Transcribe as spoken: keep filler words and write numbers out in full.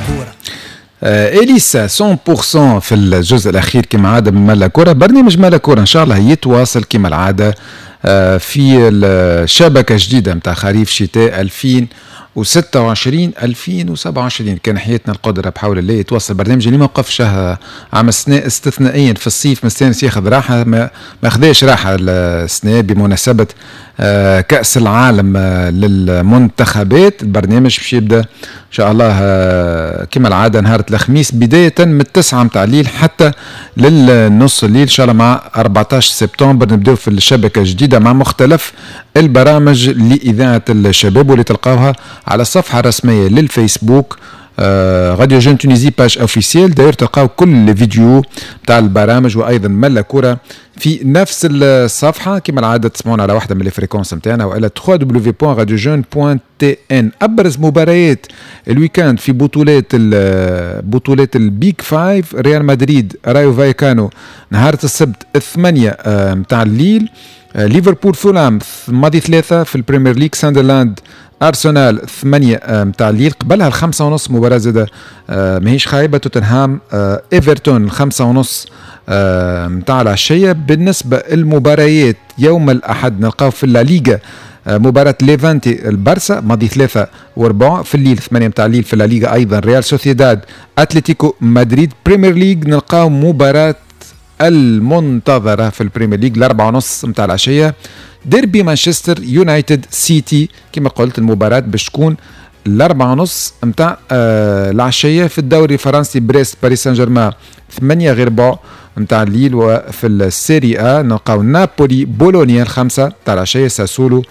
كورة. آه، اليسا مية بالمية في الجزء الاخير كما عادة من ملا كوره. برنامج ملا كورة ان شاء الله يتواصل كما العادة آه، في الشبكة جديدة نتاع خريف شتاء ألفين وستة وعشرين ألفين وسبعة وعشرين، كان حياتنا القدرة بحول الله. يتواصل برنامج اللي ما وقفش عام السنة استثنائيا في الصيف، مستانس ياخذ راحة، ما ما خذاش راحة السنة بمناسبة آه، كأس العالم آه، للمنتخبات. البرنامج باش يبدا ان شاء الله آه، كما العادة نهار الخميس بداية من التسعة متاع الليل حتى للنص الليل. ان شاء الله مع أربعطاش سبتمبر نبداو في الشبكة الجديدة مع مختلف البرامج لإذاعة الشباب، واللي تلقاوها على الصفحة الرسمية للفيسبوك Radio Jeunes Tunisie page officielle. d'ailleurs تلقاو كل les vidéos تاع البرامج وايضا ملا كرة في نفس الصفحه. كما العادة تسمعونا على واحدة من les fréquences نتاعنا والا WW point radiojeunes point T N. ابرز مباريات ال week-end في بطولات بطولات ال Big Five: ريال مدريد رايو فايكانو نهار السبت الثمانية نتاع الليل، آه، ليفربول فولام ماضي ثلاثة. في البريمير ليج ساندرلاند ارسنال ثمانية متاع الليل. قبلها الخمسة ونص مباراة زادة آه، ماهيش خايبة، توتنهام آه، ايفرتون الخمسة ونص متاع العشية. بالنسبة المباريات يوم الأحد نلقاو في الليغا مباراة ليفانتي البرسا ماضي ثلاثة وربع. في الليل ثمانية متاع الليل في الليغا أيضا ريال سوسيداد أتلتيكو مدريد. بريمير ليج نلقاو مباراة المنتظرة في البريمير ليج الأربعة ونص متاع العشية، ديربي مانشستر يونايتد سيتي. كما قلت المباراة باش تكون الأربعة ونص متاع آه العشية. في الدوري الفرنسي بريست باريس سان جيرمان ثمانية غير ربع متاع الليل. وفي السيري آ نلقاو نابولي بولونيا الخمسة تاع العشية، ساسولو